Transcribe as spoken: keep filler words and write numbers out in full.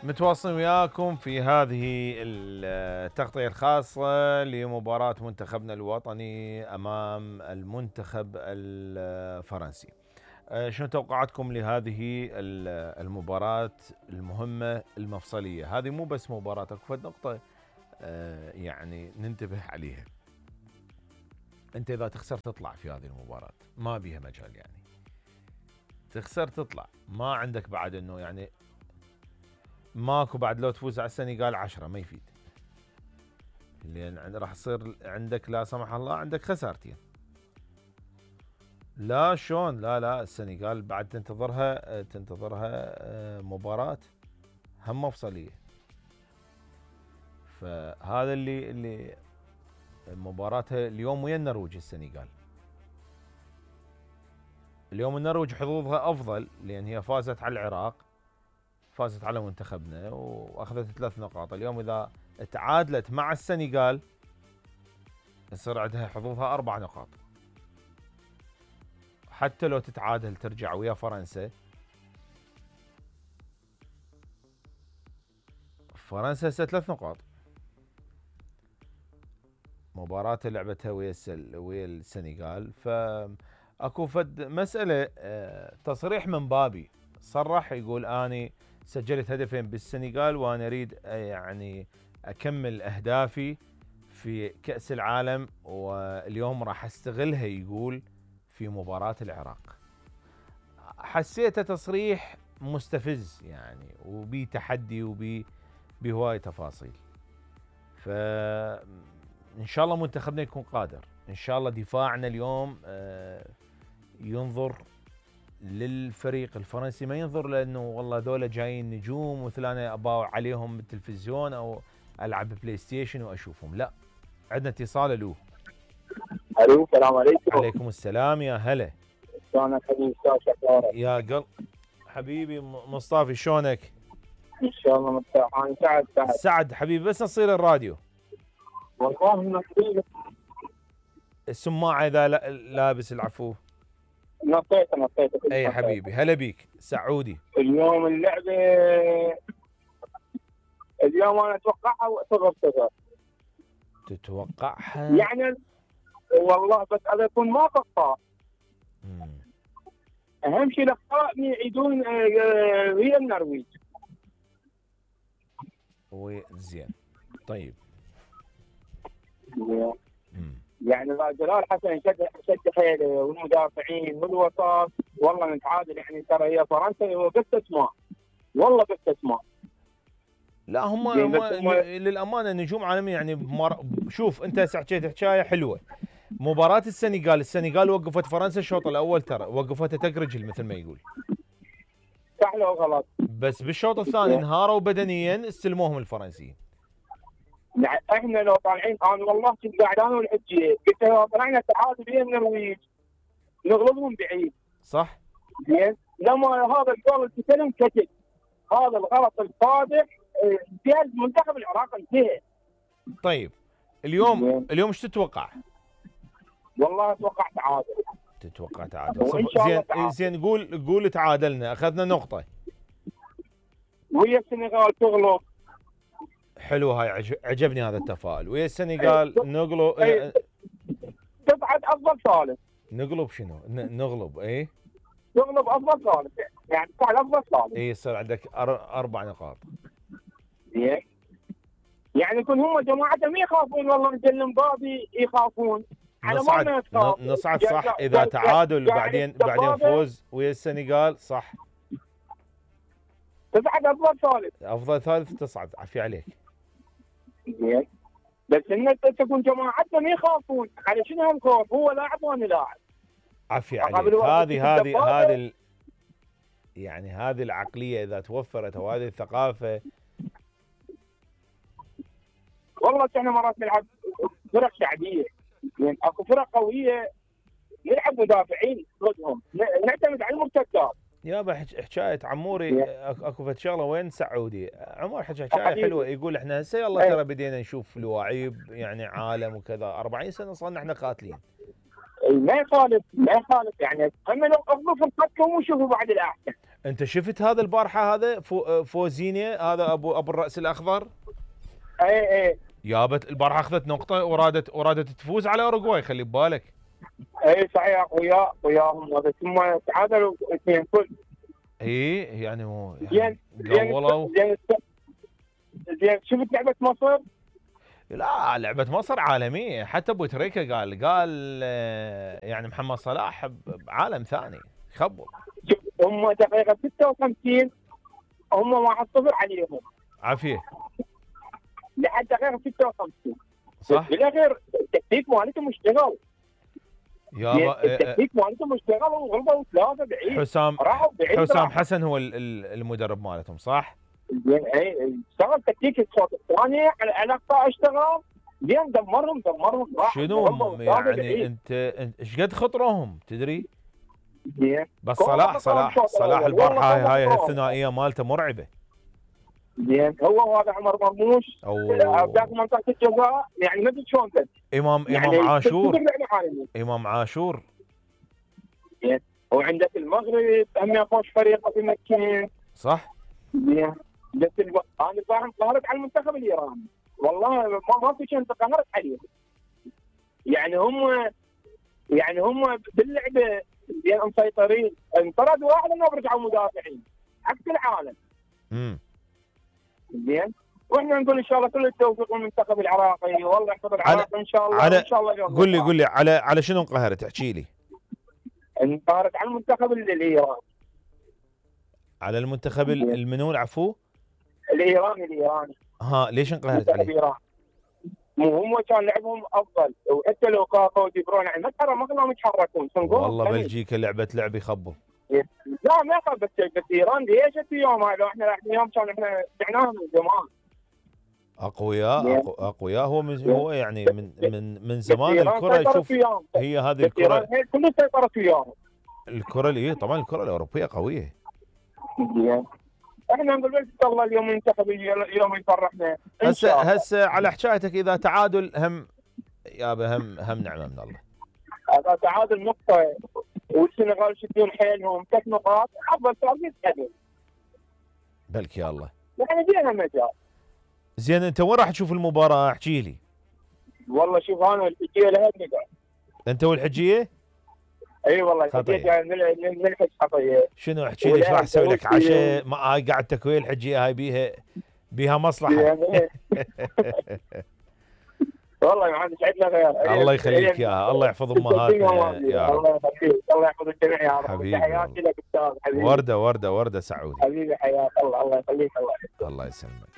متواصلين وياكم في هذه التغطية الخاصة لمباراة منتخبنا الوطني أمام المنتخب الفرنسي. شنو توقعاتكم لهذه المباراة المهمة المفصلية؟ هذه مو بس مباراة، اكو نقطة يعني ننتبه عليها. انت اذا تخسر تطلع في هذه المباراة ما بيها مجال، يعني تخسر تطلع، ما عندك بعد انه يعني ماكو بعد لو تفوز على السنغال عشرة ما يفيد، لان راح يصير عندك لا سمح الله عندك خسارتين. لا شلون، لا لا السنغال بعد تنتظرها تنتظرها مباراة هم مفصلية. فهذا اللي اللي مباراتها اليوم ويا النرويج. السنغال اليوم النرويج حظوظها افضل لان هي فازت على العراق، فازت على منتخبنا واخذت ثلاث نقاط. اليوم اذا تعادلت مع السنغال يصير عندها حظوظها اربع نقاط. حتى لو تتعادل ترجع ويا فرنسا، فرنسا هسه ثلاث نقاط. مباراة لعبتها ويا ويا السنغال، فاكو فد مسألة تصريح من بابي صرح يقول اني سجلت هدفين بالسنغال وانا اريد يعني اكمل اهدافي في كأس العالم واليوم راح استغلها يقول في مباراة العراق. حسيته تصريح مستفز يعني وبي تحدي وبي بهواي تفاصيل. فإن شاء الله منتخبنا يكون قادر، إن شاء الله دفاعنا اليوم ينظر للفريق الفرنسي، ما ينظر لأنه والله ذولا جايين نجوم مثل أنا أباوع عليهم بالتلفزيون أو ألعب بلاي ستيشن وأشوفهم. لا، عندنا اتصال. ألو الو السلام عليكم. عليكم السلام، يا هلا. شلونك حبيبي؟ شلونك يا قلب حبيبي مصطفى، شلونك؟ ان شاء الله مرتاح. انا سعد سعد سعد حبيبي، بس نصير الراديو والله نصير السماعه اذا لابس العفو. نطيت نطيت اي حبيبي، هلا بيك سعودي. اليوم اللعبه اليوم انا اتوقعها صفر صفر. تتوقعها يعني والله بس هذا يكون ما اخطاء. اهم شيء الاخطاء يعيدون ويا النرويج. وزين طيب. يعني جلال حسن شد شد حيله والمدافعين والوسط، والله نتعادل. يعني ترى هي فرنسا بس اسماء، والله بس اسماء. لا هم, هم, هم للامانه نجوم عالميه يعني بمر... شوف انت هسه حكيت حكايه حلوه. مباراه السنغال السنغال وقفت فرنسا الشوط الاول، ترى وقفتها تك رجل مثل ما يقول. صح لو غلط. بس بالشوط الثاني انهاروا بدنيا، استلموهم الفرنسيين. يعني احنا لو طالعين، انا والله كنت قاعد انا والحجيه قلت لو طلعنا تعادل بين النرويج نغلبهم بعيد. صح؟ زين، لما هذا الجول اللي استلم كتب، هذا الغلط الفادح في منتخب العراق انتهى. طيب اليوم زين. اليوم ايش تتوقع؟ والله اتوقع تعادل. تتوقع تعادل؟ زين تعادل. زين قول قول تعادلنا اخذنا نقطه ويا السنغال تغلب. حلو، هاي عجبني هذا التفاؤل. ويا السنغال نغلب تصعد افضل ثالث. نغلب شنو؟ نغلب اي نغلب افضل ثالث، يعني تصعد افضل ثالث. اي يصير عندك اربع نقاط. زين، يعني يكون هم جماعتهم يخافون، والله مثل مبابي يخافون على ما نصعد نصعد صح. اذا تعادل بعدين بعدين فوز ويا السنغال صح تصعد افضل ثالث. افضل ثالث تصعد، عافية عليك. زين، بس ان تكون جماعتهم يخافون. على شنو هم خوف؟ هو لاعب وانا لاعب. عافية عليك. هذه هذه هذه يعني هذه العقلية اذا توفرت وهذه الثقافة. والله احنا مرات نلعب فرق شعبيه، يعني اكو فرق قويه نلعب مدافعين ضدهم، نعتمد على المرتدات. يابا حكايه عموري اكو فد شغله وين سعودي عمر حكى حكايه حلوه، يقول احنا هسه يلا ترى بدينا نشوف لواعيب يعني عالم وكذا. أربعين سنه صرنا احنا قاتلين. ما يخالف ما يخالف يعني هم اغضوا فرقتكم وشوفوا بعد الاحسن. انت شفت هذا البارحه هذا فو فوزينيا هذا ابو ابو الراس الاخضر؟ اي اي جابت البارحه اخذت نقطه ورادت ورادت تفوز على اوروغواي، خلي ببالك. اي صحيح اخويا وياهم، بس هم تعادلوا اثنين كل. اي يعني مو زين زين قولوا. زين زين شفت لعبه مصر؟ لا لعبه مصر عالميه، حتى ابو تريكه قال قال آه، يعني محمد صلاح بعالم ثاني خبر. شوف هم دقيقه ستة وخمسين هم واحد صفر عليهم عافيه لحد دقيقه ستة وخمسين. صح. بالاخير التكتيك مالتهم اشتغل. يابا التكتيك مالتهم اشتغل وغلبوا ثلاثه بعيد. حسام راحوا بعيد حسام راحوا. حسن هو ال- ال- المدرب مالتهم صح؟ زين اي اشتغل تكتيك الشوط الثاني على الاقصى اشتغل زين دمرهم دمرهم راحوا شنو غلبوا ثلاثة يعني بعيد. انت انت ايش قد خطرهم تدري؟ زين بس كورة صلاح خطرهم صلاح الشوط صلاح الأول. البارحه والله هاي خطرهم. الثنائيه مالته مرعبه. زين هو هذا عمر مرموش أو ذاك منطقه الجزاء يعني ما ادري شلون بس امام يعني امام عاشور تقدر لعبة عالمية. امام عاشور زين وعندك المغرب هم خوش فريق في مكين. صح. زين بس الب... انا البارحه انقهرت على المنتخب الايراني والله ما, ما في شيء انقهرت عليه. يعني هم يعني هم باللعبه زين مسيطرين، انطرد واحد انه برجعوا مدافعين عكس العالم. امم زين واحنا نقول ان شاء الله كل التوفيق للمنتخب العراقي، والله يحفظ العراق ان شاء الله. على- ان شاء الله اليوم قول لي قول لي على على شنو انقهرت؟ احكي لي. انقهرت على المنتخب الايراني. على المنتخب ال- المنو العفو؟ الايراني الايراني ها ليش انقهرت منتخب عليه؟ ايران مو هم كان لعبهم افضل، وحتى لو كاكا ودي برون يعني ما تحرك ما كانوا يتحركون. والله بلجيكا لعبت لعب يخبوا. لا ما يخاف بس بس ايران ليش اليوم هذا احنا رايحين اليوم كان احنا سمعناهم من زمان. اقوياء أقو- اقوياء هو من هو يعني من من من زمان إيران الكره سيطرت يشوف وياهم. هي هذه بس ايران الكره هي كله سيطرت وياهم. الكره اللي طبعا الكره الاوروبيه قويه. زين احنا نقول بس الله اليوم المنتخب اليوم يفرحنا ان هسه شاء الله. هسه على حكايتك اذا تعادل هم يابا هم هم نعمه من الله. هذا تعادل نقطه والسنغال يشدون حيلهم ثلاث نقاط افضل ثالث يتقدم بلك يا الله. يعني فيها مجال. زين انت وين راح تشوف المباراه؟ احكي لي. والله شوف انا الحجيه لها نقعد. انت والحجيه؟ اي والله خطير. الحجيه من نلحق خطيه. شنو احكي لي ايش راح اسوي لك عشاء؟ ما هاي قاعد تكوين الحجيه هاي بيها بيها مصلحه. يعني والله ما عندي سعدنا غير. الله يخليك ياها، الله يحفظ امهاتنا يا رب. الله يخليك الله يحفظ الجميع يا رب. حبيبي تحياتي لك استاذ حبيبي. ورده ورده ورده سعودي. حبيبي حياك الله الله يخليك الله الله يسلمك.